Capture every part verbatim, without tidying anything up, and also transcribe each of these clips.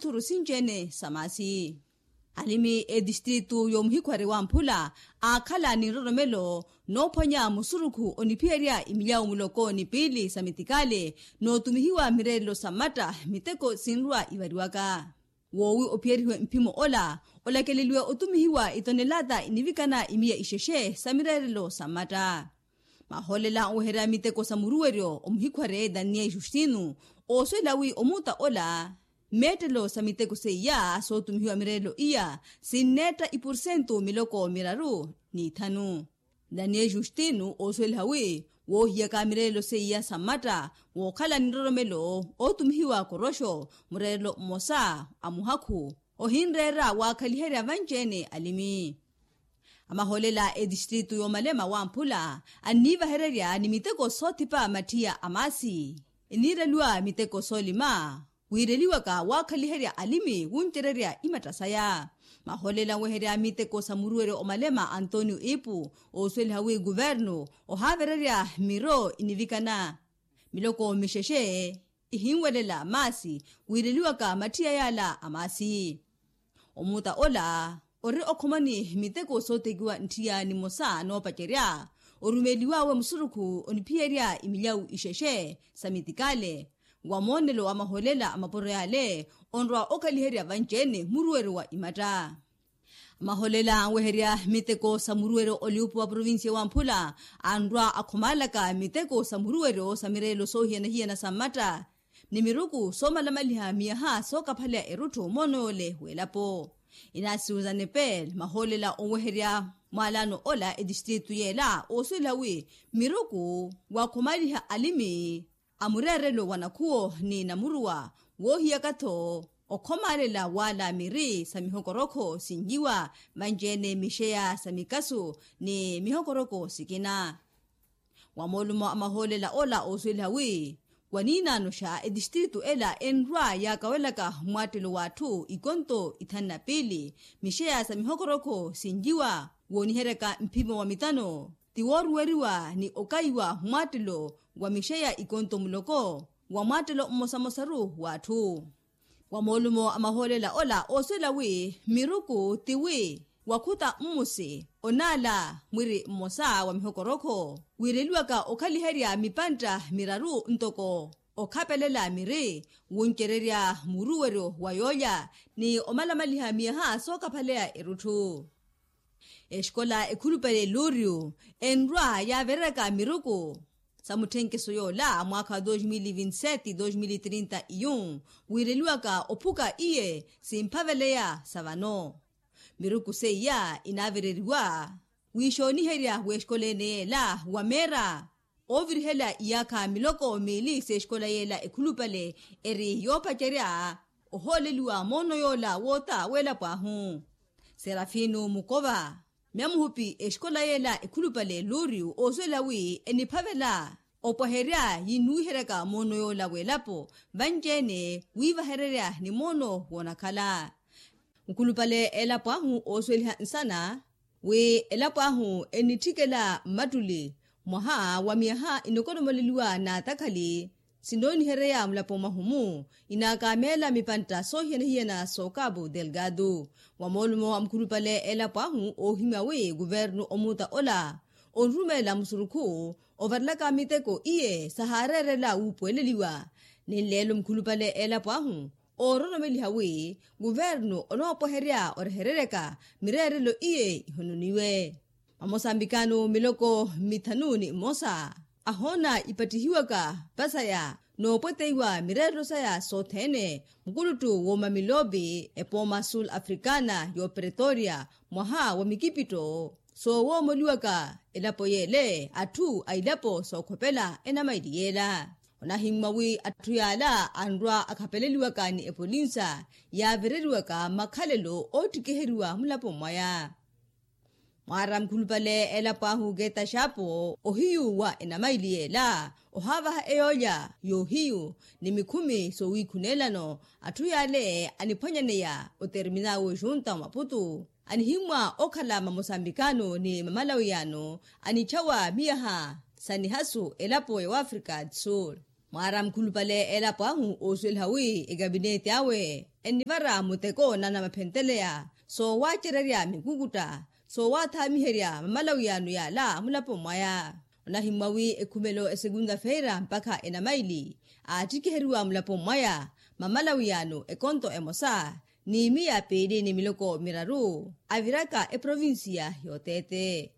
ithuru sinci-ene sa maasi. Alimi etistritu y'omuhikhwari wamphula aakhala ni nroromelo noophwanya musurukhu oniphiyerya imilyawu muloko ni piili sa mitikale, nootumihiwa mireerelo sa mmatta miteko sinrwa ivariwaka. Woowi ophiyerihiwe mphimo ola olakeleliwe otumihiwa itonelata inivikana imiya ixexe sa mireerelo sa mmatta. Mahoolela onweherya miteko sa muruweryo omuhikhware daniel justino ooswela wi omuuta ola mmeettelo sa miteko seiya sootumihiwa mireerelo iya sinneetta ipursentu miloko miraru n'ithanu. Daniel justino oosweliha wi woohiyaka mireerelo seiya sa mmatta wookhala ni nroromelo ootumihiwa koroxo mureerelo mmosa a muhakhu ohinreera waakhaliherya vanci-ene alimi. Amahoolela etistritu y'omalema wamphula anniivahererya ni miteko soothipa matthiya a maasi eniireliwa miteko soolima wiireliwaka waakhaliherya alimi wuncererya imatta saya. Mahoolela anweherya miteko sa muruweryo omalema antonio ipu oosweliha wi kuvernu ohaavererya miro inivikana miloko mixexe ihinwelela maasi wiireliwaka matthiya yaala a maasi. Omuuta ola ori okhomani miteko sootekiwa ntthiya nimosa noopacerya orumeliwawe musurukhu oniphiyerya imilyawu ixexe sa mitikale wa moonelo wa mahoolela a mapuro yaale onrwa okhaliherya vanci-ene muruweryo wa imatta. Maholela anweherya miteko sa muruweryo oliupu wa provincia wa mphula anrwa akhomaalaka miteko sa muruweryo sa mireelo soohiyana-hiyana sa mmatta ni miruku soomalamaliha miyaha sookaphaleya erutthu moono yoole w'elapo. Inaasiwu za nepel maholela onweherya mwaalano ola etistritu yeela oosuwela wi miruku waakhomaliha alimi a mureerelo wa nakhuwo ni namuruwa woohiyaka-tho okhomaalela waala miri sa mihokorokho sinjiwa vanci-ene mixeya sa mikasu ni mihokorokho sikina. Wa moolumo a mahoolela ola oosuweliha wi waniinaanoxa etistritu ela enrwa yaakawelaka mmwaattelo w'atthu ikonto ithanu na piili mixeya sa mihokorokho sinjiwa wooniheryaka mphimo wa mitano ti wooruweriwa ni okaiwa mmwaattelo wa mixeya ikonto muloko wa mwaattelo mmosamosaru w'atthu. Wa moolumo a mahoolela ola oosuwela wi miruku ti wi wakhuta mmusi onaala mwiri mmosa wa mihokorokho wiireliwaka okhaliherya mipantta miraru ntoko okhapelela miri wuncererya muruweryo wa yoolya ni omalamaliha miyaha sookaphaleya erutthu. Exikola ekhulupale luriu enrwa yaavereryaka miruku sa mutthenkeso yoola mwaakha wa dos mil e vinte sete dos mil e trinta e um wiireliwaka ophuka iye simphaveleya sa vano. Miruku seiya inaavereriwa wiixooniherya w'exikola ene yeela wa meera oovirihela iyaakha miloko miili s'exikola yeela ekhulupale eri yoopacerya ohooleliwa moono yoola woota w'elapo ahu. Serafino mukova myamuhupi exikola yeela ekhulupale luriu oosuwela wi eniphavela opwaherya yinnuwiheryaka moono yoola w'elapo vanci-ene wiivahererya ni moono woonakhala. Mukhulupale elapo ahu oosuweliha nsana wi elapo ahu enitthikela mmattuli mwaha wa miyaha inokolomoleliwa n'atakhali sinoonihereya mulapo mwahu-mu inaakameela mipantta soohiyana-hiyana s'okapu delgado. Wa moolumo a mukhulupale elapo ahu oohimya wi kuvernu omuutta ola onrumeela musurukhu ovarelaka miteko iye sahaareerela wuupuweleliwa. Ni nleelo mukhulupale elapo ahu oororomeliha wi kuvernu onoopweherya orehereryaka mireerelo iye ihononiwe. Mamosambikano miloko mithanu ni mmosa ahoona ipattihiwaka vasaya noopweteiwa mireerelo saya sothene mukuluttu w'omamilopi epooma sul africana y'opretoria mwaha wa mikipitto soowoomoliwaka elapo yeele atthu a ilapo sookhopela enamaili yeela. Onahimmwa wi atthu yaala anrwa akhapeleliwaka ni epolinsa yaavereriwaka makhalelo oottikiheriwa mulapo mwaya. Mwaara mukhulupale elapo ahu keta xaapo ohiyu wa enamaili yeela ohaavaha eyoolya y'ohiyu ni mikhumi soowiikhuneelano atthu yaale aniphwanyaneya oterminal w'ejunta wa maputu anihimmwa okhala mamosambikano ni mamalawiyano anitxawa miyaha sa nihasu elapo ya wafrika du sul. Mwaara mukhulupale elapo ahu oosuweliha wi ekapineti awe ennivara muteko na anamaphentteleya soowacererya mikukutta soowathaamiherya mamalawiyano yaala mulaponi mwaya. Onahimmwa wi ekhumelo esekunta feira mpakha enamaili aattikiheriwa mulaponi mwaya mamalawiyano ekonto emosa ni miya piili ni miloko miraru aviraka eprovinsiya y'oteete.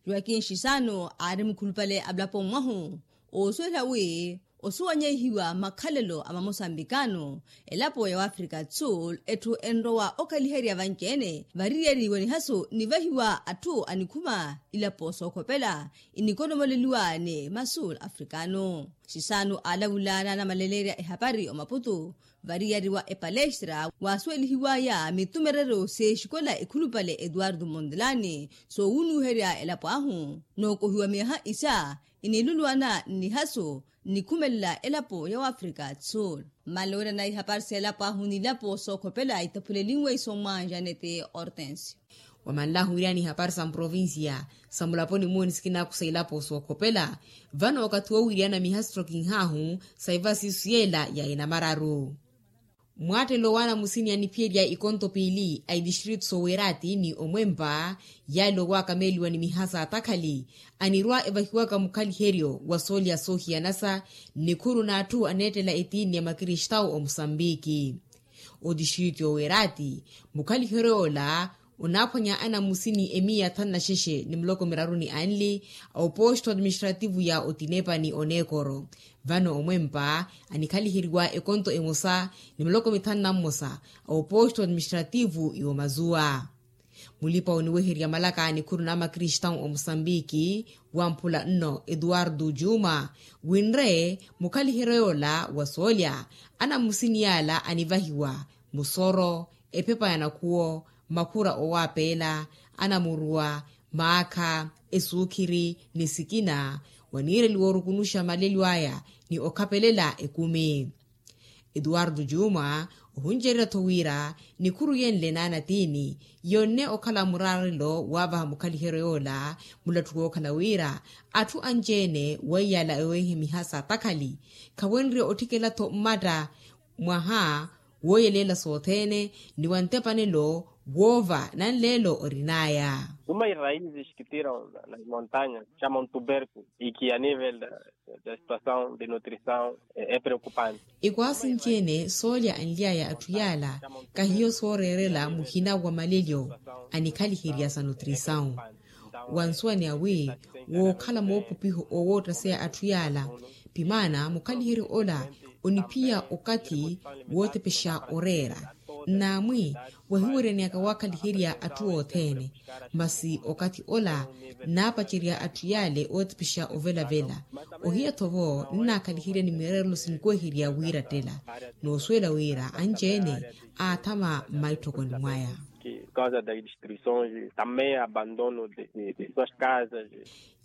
Joakin shisano aari mukhulupale a mulaponi mwahu oosuwela wi osuwanyehiwa makhalelo a mamosambikano elapo ya wafrika sul etthu enrowa okhaliherya vanci-ene variyari wa nihaso nivahiwa atthu anikhuma ilapo sookhopela inikonomoleliwa ni masul afrikano. Shisano aalavula naanamaleleerya ehapari omaputu variyari wa epalestra waasuwelihiwaya mitumerero seexikola ekhulupale etuwartu montelani soowunuherya elapo ahu nookohiwa miyaha isa iniluluwana nnihaso nnikhumelela elapo ya wafrika sul. Mmalowirana ihapari s'elapo ahu n'ilapo sookhopela itaphulelinwe isommwa janete hortensio. Wamanlahu wiryani ihapari sa mprovincia sa mulaponi muni sikinaakusa ilapo sookhopela vano okathi woowiryana miha sittokinhahu sa ivasi isu yeela ya inamararu. Mwaattelo waana musini aniphiyerya ikonto piili a itistritu soowerati ni omwempa yaale owaakameeliwa ni miha saatakhali anirwa evahiwaka mukhaliheryo wa soolya soohiyanasa nnikhuru n'atthu aneettela etiini ya makristawu omusambiki. Otistritu yoowerati mukhaliheryo yoola onaaphwanya anamusini emiya thanu na xexe ni muloko miraru ni anli a oposto administrativu ya otinepa ni oneekoro. Vano omwempa anikhaliheryiwa ekonto emosa ni miloko mithanu na mmosa a oposto administrativu y'omazuwa. Mulipa oniweherya malaka a nikhuru n'amakristawu omusambiki wamphula nno etuwartu juma winre mukhaliheryo yoola wa soolya anamusini yaala anivahiwa musoro, ephepa ya nakhuwo, makhura owaapeela, anamuruwa, maakha, esuukhiri ni sikina waniireliwa orukunuxa malelyo aya ni okhapelela ekumi. Etuwartu juma ohuncererya-tho wira nikhuru yenle naanatiini yonne okhala muraarelo waavaha mukhaliheryo yoola mulattuku wookhala wira atthu anci-ene weiyala eweehe miha saatakhali khawenrye otthikela-tho mmatta mwaha wooyeleela sothene ni wa ntepanelo woova nanleelo orin'aya. Uma iraizi xikitira na montaña xama ontuberku iki a nivel da situasaw de nutrisaw e preokupante. Ikwaasi nci-ene soolya anly'aya atthu yaala kahiyo sooreerela muhina wa malelyo anikhaliherya sa nutrisaw. Wansuwani awi wookhala moopupiho owoottaseya atthu yaala pimaana mukhaliheryo ola oniphiya okathi wootepexa oreera nnaamwi wahiweryaneyaka waakhaliherya atthu othene. Masi okathi ola nnaapacerya atthu yaale ootepexa ovelavela ohiya-tho vo nnaakhaliherya ni mireerelo sinikweherya wiirattela noosuwela wira anci-ene aathama mmaitthokoni mwaya. Causa das destruições também abandono de suas casas.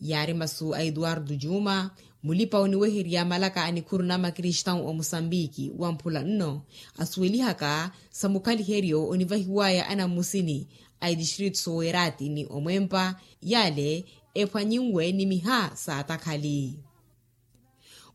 Yaari masu a etuwartu juma mulipa oniweherya malaka a nikhuru n'amakristawu omusambiki wamphula nno asuwelihaka sa mukhaliheryo onivahiwaya anammusini a itistritu soowerati ni omwempa yaale ephwanyinwe ni miha saatakhali.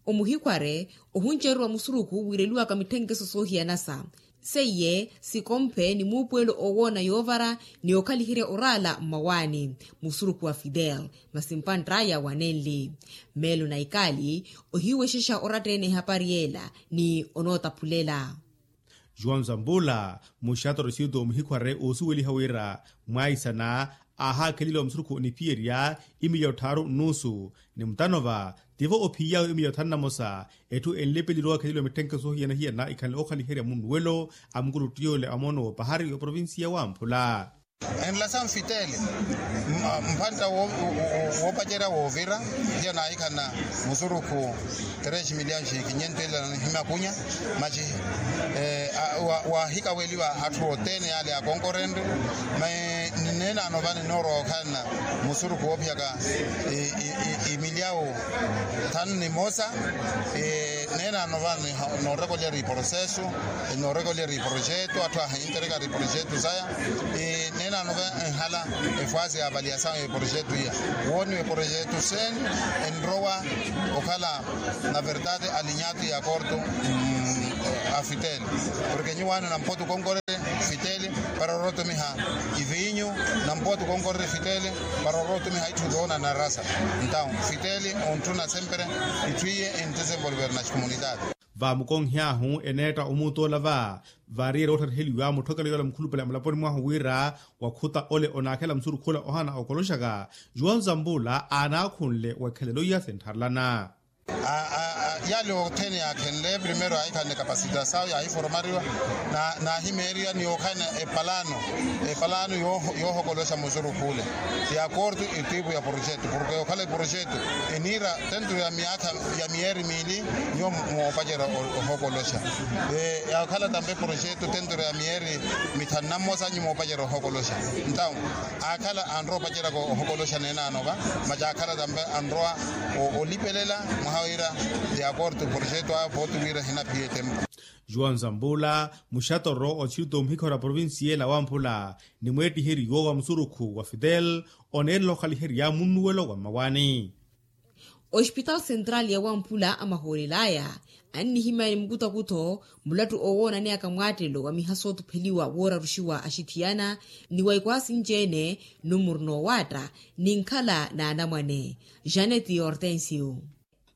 Omuhikhware ohuncererwa musurukhu wiireliwaka mitthenkeso soohiyanasa seiye sikomphe ni muupuwelo oowoona yoovara ni okhaliherya oraala mmawaani musurukhu wa fidel masi mpantt'aya wanenli meelo na ikaali ohiwexexa oratta-ene ehapari yeela ni onootaphulela. Juan zambula muxatorosito muhikhware oosuweliha wira mwaisana aahaakheleliwa musurukhu oniphiyerya imiliya otthaaru nnuusu ni mutanova tivo ophiyawe imiliya othanu na mosa. Etthu enlepeliwa okhaliwa mitthenke soohiyana-hiyana ikhanle okhaliherya munnuwelo a mukuluttiyoole a moono w'opahari oprovinsiya wamphula. Enlasaw nfitele mphantta woopacerya woovira tiya naahikhanna musurukhu tres miliyani xinkinyentela na nihimakunya maxi. Wahikaweliwa atthu othene yale akonkorenre. Mayi nineenano vani noorowa okhalana musurukhu woophiyaka imilyawu thanu ni mosa. Neenano vani noorekolyari processo, noorekolyari projeto atthu ahinterekari projeto saya. Neenano va enhala efwasi ya avaliasawu ya eprojeto iya wooniwa eprojeto sene enrowa okhala na verdade alinyatu ya korto a fitele. Porke nyuwaano nampotu konkorere fitele para orotumiha ivinyu nampotu konkorere fitele para orotumiha itthu doona na rasa. Entawu fitele ontthuna sempere itthu iye entisenvolvere na xikomunitati. Vaamukonhy'ahu eneetta omuutoola va vaariyerya oottariheliwa mutthokelo yoola mukhulupale amulaponi mwahu wira wakhuta ole onaakhela musurukhu ola ohana okoloxaka. Juwau nzambula aanaakhunle wekhelelo iya sintharelana. Yale othene yaakhenle primero yaahikhanle kapasitasawu yaahiforomariwa naahimeeriwa ni okhalana epalano epalano yoohokoloxa musurukhu ole ya korto etipu ya projeto porke okhala eprojeto eniira tentro ya miyaakha ya miyeeri miili nyuwo moopacerya ohokoloxa. Yaakhala tampe projeto tentro ya miyeeri mithanu na mmosa nyuwo moopacerya ohokoloxa. Entawu aakhala anrowa opaceryaka ohokoloxa neenano va maci aakhala tampe anrowa olipelela mwaha wira ya korto projeto aya pooti wira ehinaphiya etempu. Juwau nzambula muxatoro othilito muhikhora provincia ela wamphula ni mweettiheryo wa musurukhu wa fitel oneerela okhaliherya munnuwelo wa mmawaani. Ospitaali sentraali ya wamphula amahoolel'aya annihimya ni mukutakutho mulattu owoonaneyaka mwaattelo wa miha sootupheliwa wooraruxiwa axithiyana ni wa ikwaasi nci-ene numuru noowaatta ni nkhala n'anamwane. Janeti hortensio.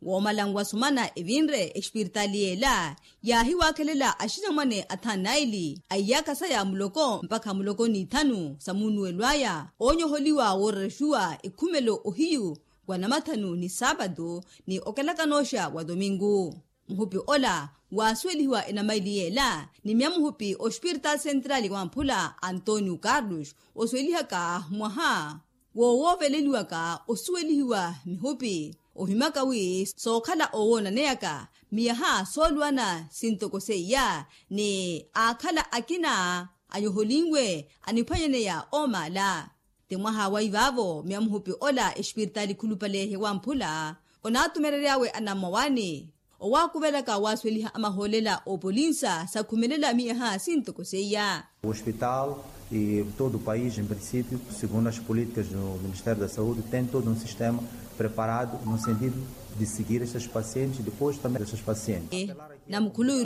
Woomalanwa sumana evinre espiritaali y'ela yaahiwaakhelela axinamwane athanu naili a iyaakha saya muloko mpakha muloko n'ithanu sa munnuwelo aya oonyoholiwa woorerexiwa ekhumelo ohiyu wa namathanu ni saapatu ni okelakanooxa wa tomingu. Muhupi ola waasuwelihiwa enamaili y'ela ni myamuhupi ospiritaali sentraali wamphula antonio carlos osuwelihaka mwaha woowooveleliwaka osuwelihiwa mihupi ohimaka wi sookhala oowoonaneyaka miyaha sooluwana sintoko seiya ni aakhala akina anyoholinwe aniphwanyaneya oomaala. Ti mwaha wa ivaavo myamuhupi ola espiritaali khulupale hewamphula onaatumerery'awe anammawaani owaakuvelaka waasuweliha amahoolela oopolinsa sakhumelela miyaha sintoko seiya. O hospital e todo o país em princípio segundo as políticas do ministério da saúde tem todo um sistema preparado no sentido de seguir estas pacientes depois também destas pacientes. Namukhulu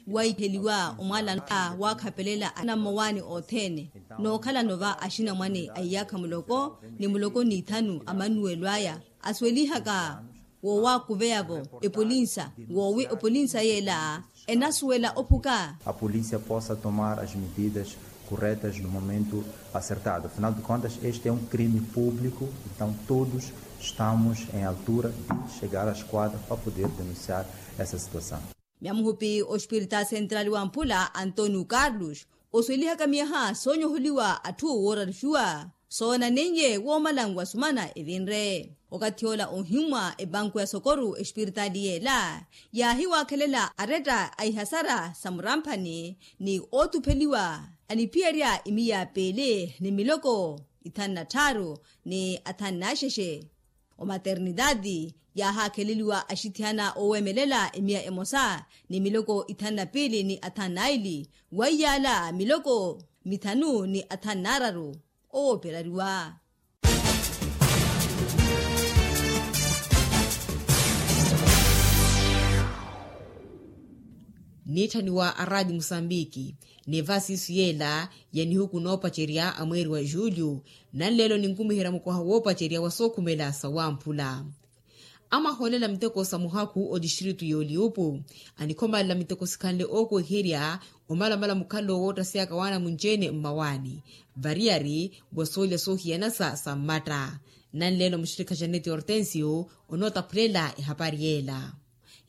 waiheliwa omwaalano a waakhapelela anammawaani othene nookhalano va axinamwane a iyaakha muloko ni muloko n'ithanu a mannuwelo aya asuwelihaka woowaakuveya-vo epolinsa woowi epolinsa y'ela enasuwela ophuka. A polícia possa tomar as medidas corretas no momento acertado afinal de contas este é um crime público. Então todos estamos em altura de chegar à esquadra para poder denunciar essa situação. Myamuhupi ospiritaali sentraali wamphula antonio carlos osuwelihaka miyaha soonyoholiwa atthu wooraruxiwa soonaneiye woomalanwa sumana evinre okathi ola ohimmwa epanku ya sokoru espiritaali y'ela yaahiwaakhelela aretta a ihasara sa muramphani ni ootupheliwa aniphiyerya imiya piili ni miloko ithanu na tthaaru ni athanu na axexe. Omaternitaati yaahaakheleliwa axithiyana oowemelela emiya emosa ni miloko ithanu na piili ni athanu na ili weiyaala miloko mithanu ni athanu na araru owooperariwa. Niitthaniwa a raati musambiki ni vasiisu yeela ya nihuku noopacerya a mweeri wa julio nanleelo ninkumiherya mukoha woopacerya wa sookhumela sa wamphula. Amahoolela miteko sa muhakhu otistritu y'oliupu anikhomalela miteko sikhanle ookoiherya omalamala mukhalelo woottasyaka waanamunci-ene mmawaani variyari wa soolya soohiyanasa sa mmatta. Nanleelo muxirikha janeti hortensio onootaphulela ehapari yeela.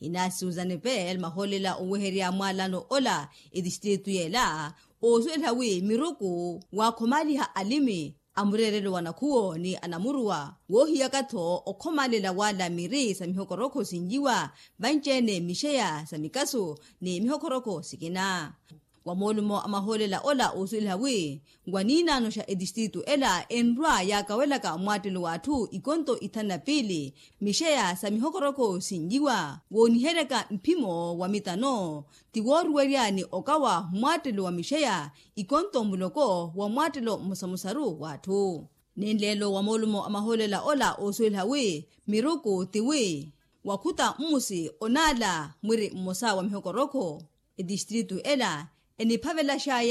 Inaasi uzanepel mahoolela oweherya mwaalano ola etistritu yeela oosuweliha wi miruku waakhomaliha alimi a mureerelo wa nakhuwo ni anamuruwa woohiyaka-tho okhomalela wala miri sa mihokorokho sinjiwa vanci-ene mixeya sa mikasu ni mihokorokho sikina. Wa moolumo a mahoolela ola oosuweliha wi wa niinaano xa etistritu ela enrwa yaakawelaka mwaattelo w'atthu ikonto ithanu na piili mixeya sa mihokorokho sinjiwa wooniheryaka mphimo wa mitano ti wooruwerya ni okawa mwaattelo wa mixeya ikonto muloko wa mwaattelo mmosamosaru w'atthu. Nenleelo wa moolumo a mahoolela ola oosuweliha wi miruku ti wi wakhuta mmusi onaala mwiri mmosa wa mihokorokho etistritu ela eniphavelaxaya